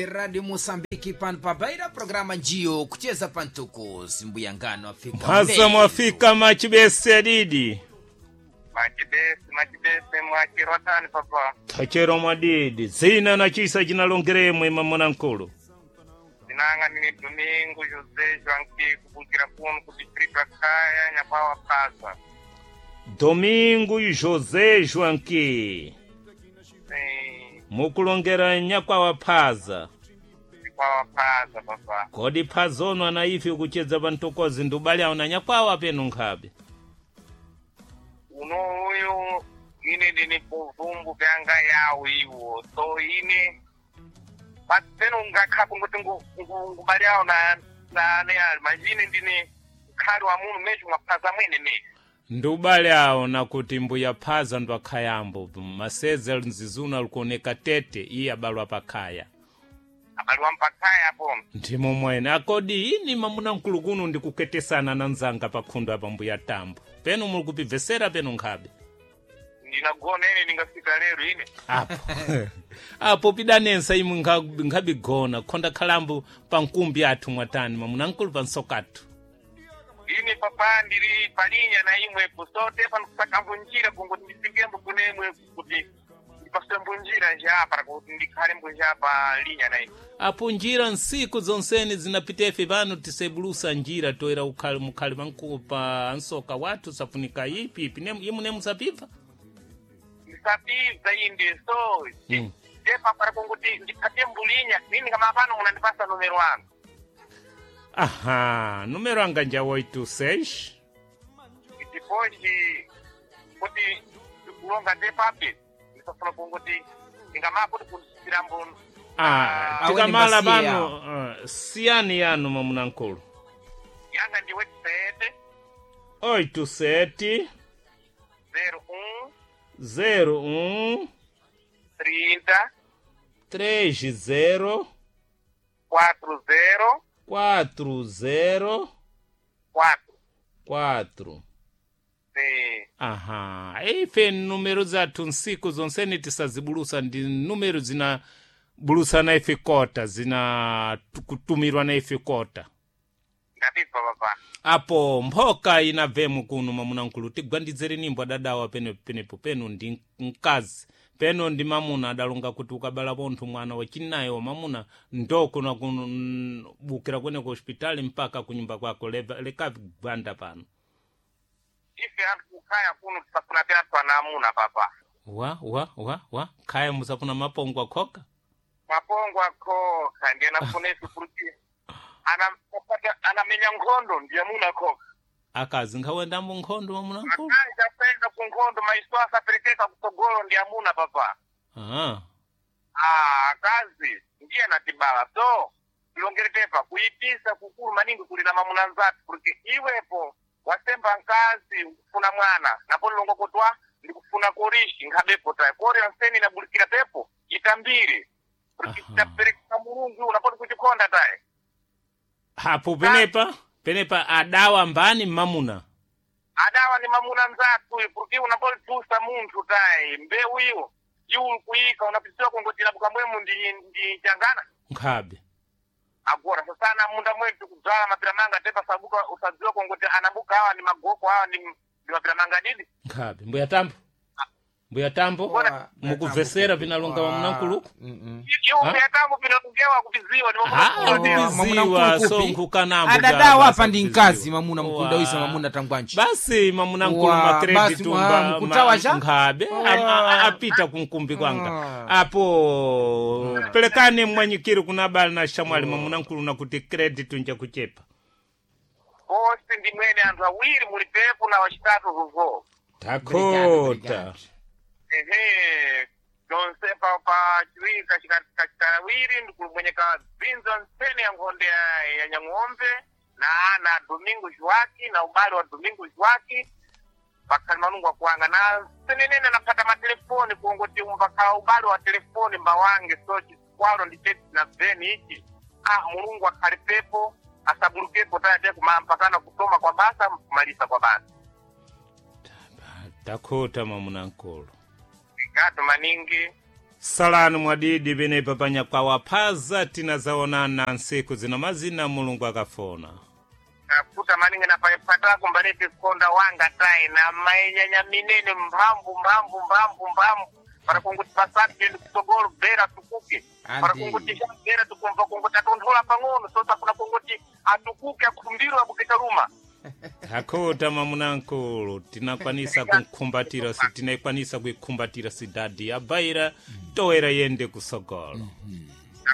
Rádio Moçambique pano pabaira programa njiyo kucheza pantuku simbuyangano afika Mphasa mlendo. mwafika machibese didi. Machibese, machibese mwachirotani papa. Tachero mwadidi. Zina na chisa chinalongeremwe mamuna nkulu. Zinanga nini Domingo José Joaquim kubukira kuno ku distrito ya Kaya Nyabawa Pasa. Domingo José Joaquim. Sim, Mukulongera nyakwawa phaza. kwawa Pasa papa. Kodi phazono ana ife kuchedza pantokozi ndubali awo na nyakwawa penu nkhabe. Uno uyu ine ndini buvumbu vyanga yawo iwo. So ine peno ngakhapo ngoti ngubali awo na na ne ali majini ndini mkhali wa munu mesho mwaphasa mwene mesho. Ndubali awo nakuti mbuya phaza ndo akhayambo. Maseze nzizuna likuoneka tete iye abalwa pakhaya. Abali wampakaya apo. Ndimo mwene akodi ini mamuna mkulu kuno ndikuketesana na nzanga pakhundo apa mbuya tambo. Penu muli kupibvesera penu nkhabe. Ndinagona ine ndingafika lero ine. Apo. Apo pidanensa imwe nkhabigona khonda khalambo pankumbi athu mwatani mamuna mkulu pansokathu. Ine papa ndiri palinya na imwepo so tepa ndikusaka njira kungoti ndifikembo kunemwe kuti ndipasembo njira njapa kuti ndikhalembo njapa linya na imwe. Apo njira nsiku zonseni zinapita ife pano tisebulusa njira toera ukhali mukhali panku pa nsoka wathu safunika ipi ipi imwe nemusapibva. Ndisapibza inde so Mm. tepa para kungoti ndikhate mbulinya nini kama pano munandipasa numero anu. Aha, numero anga nja 86 Depois kuti ndikulonga tepape ndisafuna kungoti ndingamapo kuti kundisirambo Ah, Awe tikamala ni mbasiya. pano siyani yanu mamuna nkulu. yanga ndi website 87 01 01 30 30 40 40 4. 4. Sim. Aha, ife numero zathu nsiku zonseni tisazibulusa ndi numero zina bulusa na ife kota zina kutumirwa na ife kota. Ndapibva papa. Apo mphoka inabvemo kuno mamuna nkulu tigwandidzere nimbo adadawa pene penepo peno ndi mkazi peno ndi mamuna adalonga kuti ukabala pontho mwana wachinayi wa mamuna ndokuna kubukira kwene ku hospitali mpaka kunyumba kwako lekavi gwanda pano. Ife anthu kukhaya kuno tisafuna pyathu ana amuna papa. Wa wa wa wa khaya musafuna mapongo akhoka. Mapongo akhoka ndiye anafuna ife kuti anamenya nkhondo ndiye amuna akhoka. Akazi nkhawendambo nkhondo mamuna nkulu. Akazi apenda ku nkhondo maiso asaperekeka kutsogolo ndi amuna papa. Ah. Ah, akazi ndiye anatibala so tilongere tepa kuyipisa kukulu maningi kulira mamuna nzathu kuti iwepo wasemba nkazi ukufuna mwana napo lilongo kutwa ndikufuna korishi nkhabepo tayi kori anseni inabulikira tepo itambire kuti Aha. taperekesa mulungu unapoti kuchikonda tayi. Apo penepa penepa adawa mbani mamuna. Adawa ni mamuna nzathu kuti unapolitusa munthu tayi mbewu iyo iwu kuyika unapitiwa kungoti labuka mwemu ndi changana. Nkhabe. Agora sasana munda mwetu kudzala mapira manga tepa sabuka usadziwa kungoti anabuka awa ni magoko awa ndi mapira manga didi. Nkhabe mbuya tambo. Mbuya tambo. Wa- Mukubvesera pinalonga mamuna nkuluku. Iwo Ha? kuyatambo pinalongewa kupiziwa ni Ah, mamuna Mamuna kupiziwa mkulu so kupi. nkhukanambo Adadawa basa apa ndi kupiziwa. mkazi mamuna mkunda Wa. wisa mamuna tangwanji. Basi mamuna nkulu Wa, makredi basi, tumba wa, mkutawa cha? nkhabe apita kunkumbi kwanga. Apo pelekane mwanyikiri kuna bali na shamwali mamuna nkulu nakuti credit nja kuchepa. Posi ndi mwene anthu awiri muli pepo na wachitatu vuvo. Takota. Ehe tonse pa chiwiri kachitawiri ndikulumwenyeka bzinzo nsene ya nkhonde ya nyang'ombe na ana Domingo Joaki na ubale wa Domingo Joaki pakhali malungu akuwanga na senenene anaphata matelefoni kungoti umbakhala ubale wa telefoni mbawange so chikwalo ndi cheti na beni ichi ah mulungu akhale pepo asabulukepo tayate kumampakana kusoma kwa basa kumalisa kwa basa. Takota mamuna nkulu. Gato maningi. Salani mwadidi penepa panyakwawa phaza tinazaonana nsiku zina mazina Mulungu akafuna. Akuta maningi na patako mbaleti konda wanga tai na mainyanya minene mphamvu mphamvu mphamvu mphamvu para kunguti pasati tende kutsogolo bera tukuke para Andi. kunguti bera tukumva kunguti atonthola pang'ono sosa kuna kunguti atukuke akumbiro akukitaluma. Hakota mamunankulu tinakwanisa kunkhumbatira tinaikwanisa kuikhumbatira sidadi ya Baira toera yende kusogolo.